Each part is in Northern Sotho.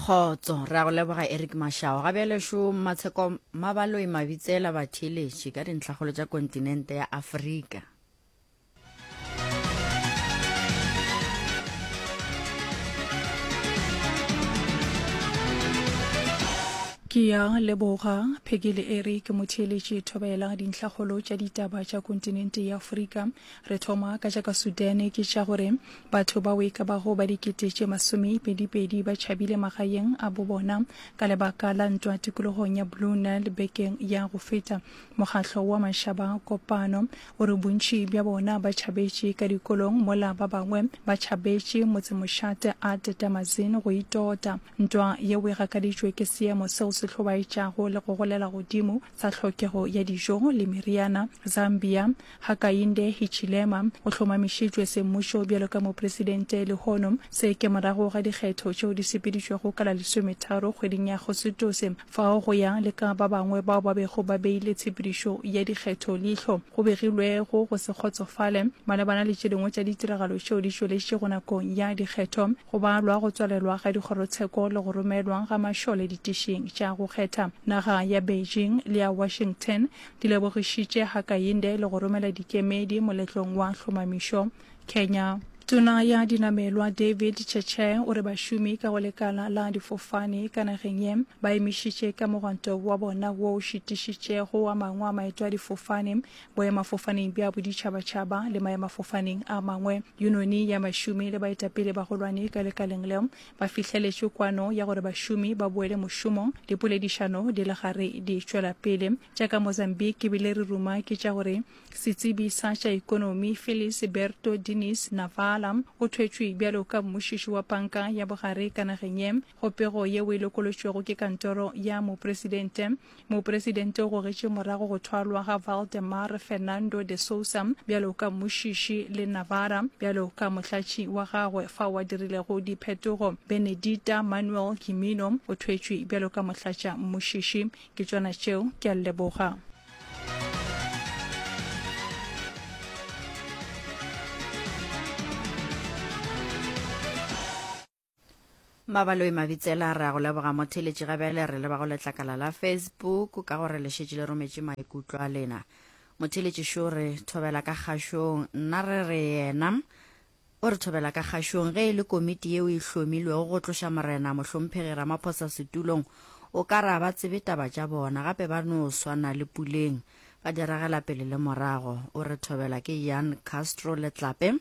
Kgotso, re a go leboga Eric Mashao. Ga bjale šo Mmatsheko Mabaloi Mabitsela batheeletši ka dintlhakgolo tša kontinente ya Afrika. Ke ya leboga Peggy le Eric motheeletši thobela dintlhakgolo tša ditaba tša kontinente ya Afrika. Re thoma ka tša ka Sudan ke tša gore batho bao e ka bago ba dikete tše masomepedipedi ba tšhabile magaeng a bo bona ka lebaka la ntwa tikologong ya Blue Nile bekeng ya go feta. Mokgatlo wa Mašaba Kopano o re bontši bja bona ba tšhabetše ka dikolong mola ba bangwe ba tšhabetše motsemošate Ad Damazin go itota. Ntwa yeo e gakaditšwe ke seemo seo se hlobaetšago le go golela godimo sa tlhokego ya dijo le meriana. Zambia, Hakainde Hichilema o hlomamišitšwe semmušo bjalo ka mopresidente lehono. Se ke morago ga dikgetho tšeo di sepeditšwego ka la lesometharo kgweding ya Agosetose. Fao go ya le ka ba bangwe bao ba bego ba beile tshepedišo ya dikgetho leihlo, go begilwego go se kgotsofale malebana le tše dingwe tša ditiragalo tšeo di tšweletšego nakong ya dikgetho, go balwa go tswalelwa ga dikgorotsheko le go romelwa ga mašole ditišing tša go kgetha. Naga ya Beijing le ya Washington di lebogišitše Hakainde le go romela dikemedi moletlong wa hlomamišo Kenya. Tona ya Dinamelwa David Cheche o re bašomi ka go lekala la difofane ka nageng ye ba emišitše ka mogwanto wa bona wo o šitišitšego a mangwe a maeto a difofane boemafofaneng bja boditšhabatšhaba le maemafofaneng a mangwe. Yunoni ya bašomi le baetapele bagolwane ka lekaleng leo ba fihleletše kwano ya gore bašomi ba boele mošomong dipoledišano di le gare di tšwela pele. Tša ka Mozambique ebile re ruma ke tša gore Setsebi sa tša ikonomi Felis Berto Diniz Navala o thwetšwe bjalo ka mmušiši wa panka ya bogare ka nageng ye. Go pego yeo e lokolotšwego ke kantoro ya mopresidente, mopresidente o gogetše morago go thwalwa ga Valdemar Fernando de Sousa bjalo ka mmušiši le Navarra bjalo ka mohlatši wa gagwe fao a dirilego diphetogo. Benedita Manuel Gimino o thwetšwe bjalo ka mohlatša mmušiši. Ke tšona tšeo, ke a leboga. Mabaloi Mabitsela re a go leboga motheletši ga bjale re leba go letlakala la Facebook ka gore le šetše le rometše maikutlo a lena. Motheletši šo re thobela ka kgašong nna re re yena O re thobela ka kgašong ge e le komiti yeo e hlomilwego go tloša Morena Mohlomphegi Ramaphosa setulong, o ka re a ba tsebe taba tša bona, gape ba no swana le Puleng, ba di ragela pele le morago. O re thobela ke Jan Castro Letlape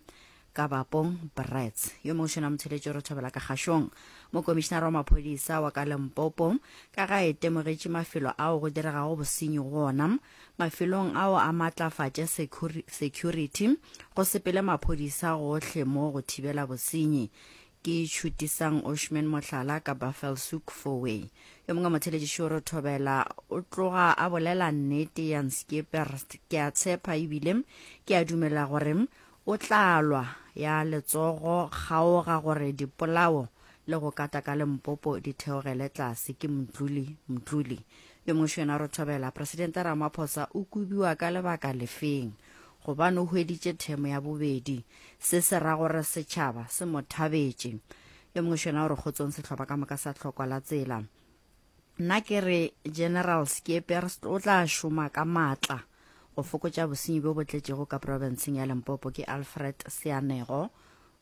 ka Bapong Brits. Yo mongwe šona motheletši o re thobela ka kgašong. Mokomišinara wa maphodisa wa ka Limpopo ka ga e temogetše mafelo ao go diregago bosenyi go ona, Mafelong ao a matlafatše security, go sepele maphodisa gohle mo go thibela bosenyi. Ke Tšhutisang Oshman Mohlala ka Buffelshoek Fourway. Yo mongwe motheletši Šoro Thobela o tloga a bolela nnete ya Nskeper. Ke a tshepa ebile ke a dumela gore o tla lwa ya letsogo kgaoga gore dipolao le go kata ka Limpopo di theogele tlase. Ke Mdluli Mdluli. Yo mongwe šo yena re thobela, Presidente Ramaphosa o kobiwa ka lebaka lefeng? Gobane o hweditše themo ya bobedi. Se se ra gore setšhaba se mo thabetše. Yo mongwe šo yena o re kgotsong sehlopha ka moka sa tlhokwa la tsela. Nna ke re General Skeepers o tla šoma ka maatla go fokotša bosenyi bjo bo tletšego ka profenseng ya Limpopo. Ke Alfred Seanego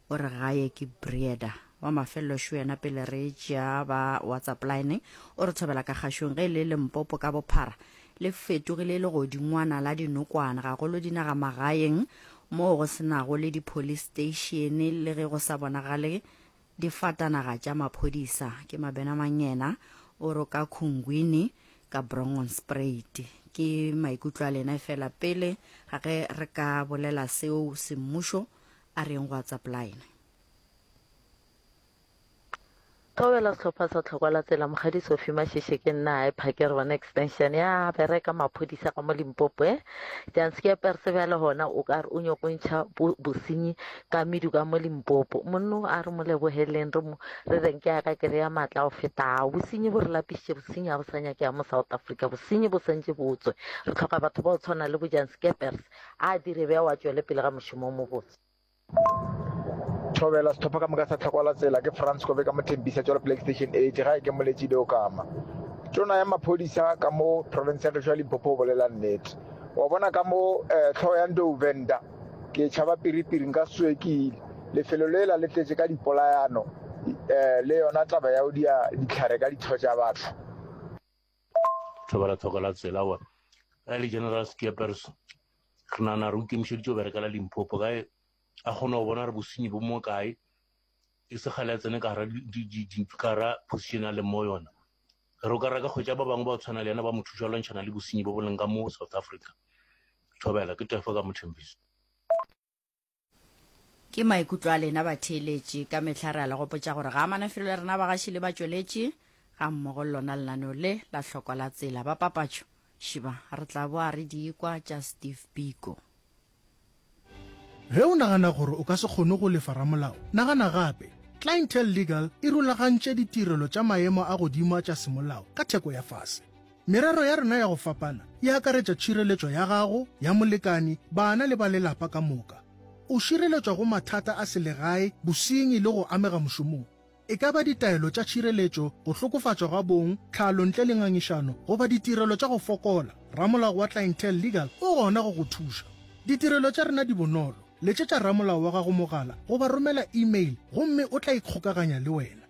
O re gae ke Breda. Wa mafelelo šo yena pele re tšea ba WhatsApp line o re thobela ka kgašong ge e le Limpopo ka bophara le fetogile legodingwana la dinokwane gagolo dinagamagaeng moo go se nago le di-police station le ge go sa bonagale difatanaga tša maphodisa. Ke Mabena Mangena o re ka Khungwini ka Brongonspruit. Ke maikutlo a lena efela pele ga ge re ka bolela seo semmušo A re yeng go WhatsApp line. Thobela sehlopha sa Tlhokwa la Tsela Mokgadi Sophie Mashishe ke nna hae Phakere one extension ya bereka maphodisa ka mo Limpopo eh Janskeper se bjale gona o ka re o nyoko ntšha bosenyi ka medu ka mo Limpopo monno a re mo lebogeleng re mo re reng ke ya ka kere ya maatla go feta bosenyi bo re lapišitše bosenyi ga bo sa nyakega mo South Africa bosenyi bo santše bo tswe re tlhoka batho ba go tshwana le bo Janskeppers A dire bjao a tšwele pele ga mošomo o mobotse. Thobela sehlopha ka moka sa Tlhokwa la Tsela ke Frans Kobe ka mo Tembisa tšwela Play Station 8 gae ke Moletši Leokama. Tona ya maphodisa ka mo province ya gešo ya Limpopo o bolela nnete. Wa bona ka mo eh, Thohoyandou Venda ke tšhaba piripiri nka se tsoge ke ile. Lefelo lela le tletše ka dipolayano eh, le yona taba ya go dia dihlare ka ditho tša batho. Thobela Tlhokwa la Tsela wa ga le General Skeepers re nagana re o ikemišeditše go berekela Limpopo kae a kgona go bona re bosenyi bo mo kae e se kgale a tsene ka gara position a leng mo yona re o ka reka kgwetša ba bangwe ba tshwana le yena ba mo thuša lwantšhana le bosenyi bo bo leng ka mo South Africa. Thobela ke tefo ka Mothembisa. Ke maikutlo a lena batheeletši. Ka mehla re a le gopotša gore ga a manafelo le rena bagaši le batšweletši ga mmogo le lona lenaneo le la hlokwa la tsela ba papatšo. Šiba re tla boa re di kwa tša Steve Biko. Ge o nagana gore o ka se kgone go lefa ramolao, nagana gape. Clientele Legal e rulagantše ditirelo tša maemo a godimo a tša semolao ka theko ya fase. Merero ya rena ya go fapana e akaretša tšhireletšo ya gago, ya molekani, bana le ba lelapa ka moka. O šireletšwa go mathata a selegae, bosenyi le go amega mošomong. E ka ba ditaelo tša tšhireletšo, go hlokofatšwa ga bong, tlhalo ntle le ngangišano, goba ditirelo tša go fokola, ramolao wa Clientele Legal o gona go go thuša. Ditirelo tša rena di bonolo. Letšetša ramolao wa gago mogala goba romela email gomme o tla ikgokaganya le wena.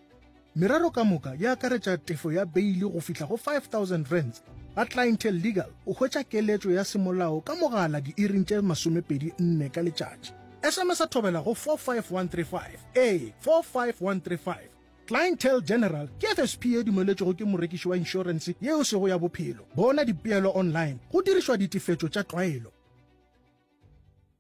Merero ka moka e akaretša tefo ya beili go fihla go R5000. Ga Clientele Legal o hwetša keletšo ya semolao ka mogala diiring tše 24 ka letšatši. SMS-a thobela go 45135. Ee, 45135. Clientele General ke FSP ye dumeletšwego ke morekiši wa inšorense ye e sego ya bophelo. Bona dipeelo online go dirišwa ditefetšo tša tlwaelo.